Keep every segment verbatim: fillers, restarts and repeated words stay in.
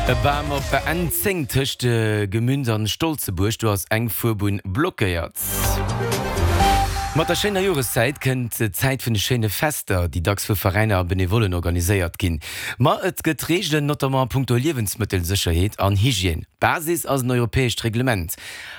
E Bam op der N zéng tëscht Gemünd an Stolzebuerg, do ass eng Fuerbunn blockéiert. Mat der schéiner Joreszäit kënnt d'Zäit vun de schéine Fester, déi dacks vu Veräiner a Benevollen organiséiert ginn. Ma et gëtt Reegelen, notamment a punkto Liewensmëttelsécherheet an Hygiène. Basis ass en europäescht Reglement.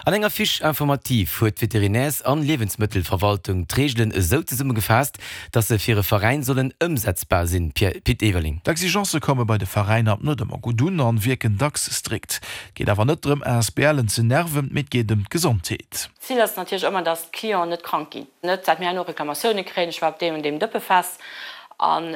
An enger Fiche informative huet d'Veterinärs an Liewensmëttelverwaltung d'Reegelen esou zesummegefaasst, dass se fir e Veräin sollen ëmsetzbar sinn. Pit Everling. D'Exigence komme bei de Veräiner net ëmmer gutt un an wierken dacks strikt. Et geet awer net drëm, ASBLen ze nerven, mee et geet ëm d'Gesondheet. D'Zil ass natierlech ëmmer, dass d'Clienten net krank ginn. Net dat mir herno Reklamatioune kréien, ech war op deem an deem Dëppefest an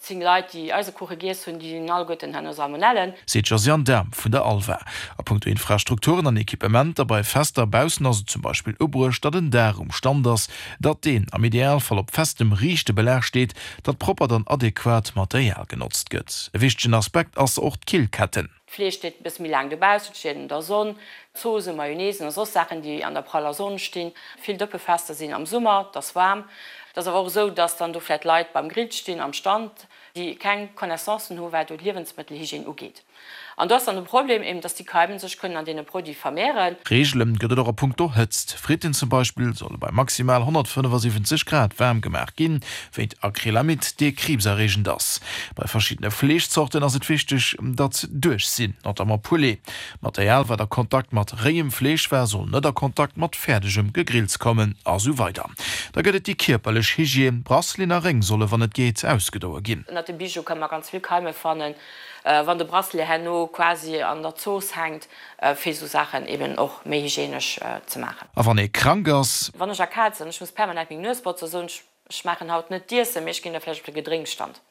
zéng Leit, déi Eisekuche giess hunn, déi hunn alleguerten herno Salmonellen. Seet d'Josiane Dahm vun der ALVA. A punkto Infrastrukturen an Equipementer bei Fester baussen ass et zum Beispill ubruecht, datt en Daach um Stand ass, datt deen am Idealfall op festem, riichte Belag steet, datt proppert an adequat Material genotzt gëtt. E wichtegen Aspekt ass och d'Killketten. D'Fleesch steet e bësse méi laang dobaussen, et steet an der Sonn. Zoosen, Mayonnaisen a soss Saachen, déi an der praller Sonn stinn. Vill Dëppefester sinn am Summer, et ass waarm. Et ass awer och esou, dass dann do vläicht Leit beim Grill stinn am Stand, déi keng Connaissancen hu wat do d'Liewensmëttelhygiène ugeet. An do ass dann de Problem eben, dass déi Keimen sech kënnen an deene Produite vermehren. Reegele gëtt et och a punkto Hëtzt. Fritten zum Beispill solle bei maximal honnertfënnefasiwwenzeg Grad waarm gemaach ginn, wéint Acrylamid, dee kriibserreegend ass. Bei verschiddene Fleeschzorten ass et wichteg, datt se duerch sinn, notamment Poulet. Material, wat a Kontakt mat réiem Fleesch war, soll net a Kontakt mat fäerdegem Gegrills kommen, a sou weider. Da gëtt et déi kierperlech Hygiène, Braceleten a Réng solle wann et geet ausgedoe ginn. Ënnert dem Bijou kënne mer ganz vill Keime fannen. Wann de Bracelet herno quasi an der Zooss hänkt, fir esou Saachen eben och méi hygienesch ze maachen. A wann ee krank ass? Wann ech erkaalt sinn, ech muss permanent meng Nues botzen, soen ech, ech maachen haut net d'Iessen, mee ech ginn da vläicht op de Gedrénksstand.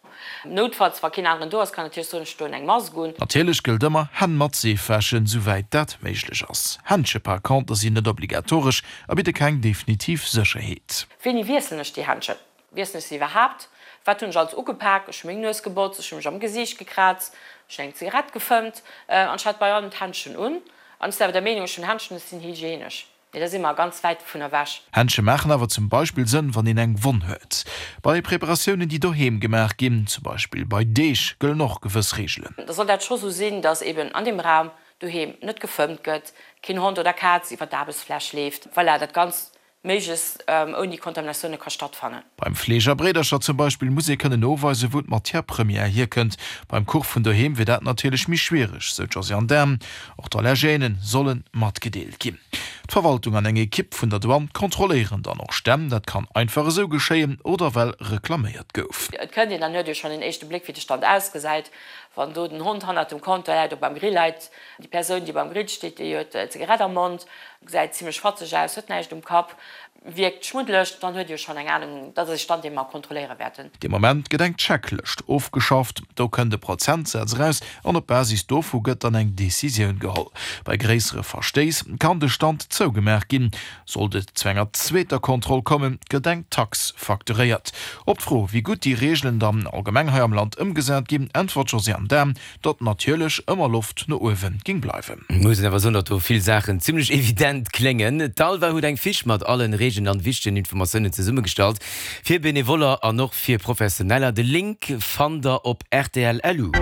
Noutfalls, wa keen aneren do ass, kann natierlech soen, ech doen eng Mask un. Natierlech gëllt ëmmer, Hänn mat Seef wäschen, souwäit dat méiglech ass. Händsche par contre sinn net obligatoresch a bidde keng definitiv Sécherheet. Wéini wiesselen ech déi Händschen? Wiesselen ech se iwwerhaapt? Wat hunn ech alles ugepak? Ech hu meng Nues gebotzt, ech hu mech am Gesiicht gekraazt, ech hunn eng Zigarett gefëmmt an ech hat bei allem d'Händschen un. An ech sinn awer der Meenung, ech hunn Händschen, ech sinn hygienesch. Mee da si mer ganz wäit dovun ewech. Händsche maachen awer zum Beispill Sënn, wann een eng Wonn huet. Bei Preparatiounen, déi doheem gemaach ginn, zum Beispill bei Deeg, gëllen och gewëss Reegelen. Da soll dat scho sou sinn, dass eben an deem Raum doheem net gefëmmt gëtt, keen Hond oder Kaz iwwer d'Aarbechtsfläch leeft. Voilà, dat Ganzt méiglechst ouni Kontaminatioune ka stattfannen. Beim Fleesch a Bréidercher zum Beispill muss ee kënnen noweisen, wou d'Matière première hierkënnt. Beim Kuch vun doheem wier dat natierlech méi schwiereg, sou d'Josiane Dahm. Och d'Allergène solle matgedeelt ginn. D'Verwaltung an eng Ekipp vun der Douane kontrolléieren dann och Stänn. Dat kann einfach esou geschéien oder well reklaméiert gouf. Et kënnt een, dann huet ee schonn en éischte Bléck, wéi de Stand ausgesäit. Wann do den Hond hannert dem Comptoir läit oder beim Grill läit, déi Persoun, déi beim Grill steet, déi huet d'Zigarett am Mond, gesäit zimlech fatzeg aus, huet näischt um Kapp, wierkt schmuddeleg, dann huet Dir schonn eng Anung, dat ass e Stand, dee mer kontrolléiere wäerten. Dee Moment gëtt eng Checklëscht ofgeschafft. Do kënnt e Prozentsaz eraus an op Basis dovu gëtt dann eng Decisioun geholl. Bei gréissere Verstéiss kann de Stand zougemaach ginn. Sollt et zu enger zweeter Kontroll kommen, gëtt eng Tax facturéiert. Op d'Fro, wéi gutt déi Reegelen dann allgemeng hei am Land ëmgesat ginn, äntwert d'Josiane Dahm, datt natierlech ëmmer Loft no uewe géing bleiwen. Muss een awer soen, datt do vill Saachen zimlech evident kléngen. D'Alva huet eng Fiche mat allen Reegelen an wichtegen Informatiounen zesummegestallt, fir Benevoller an och fir Professioneller. De Link fannt der op rtl. Lu.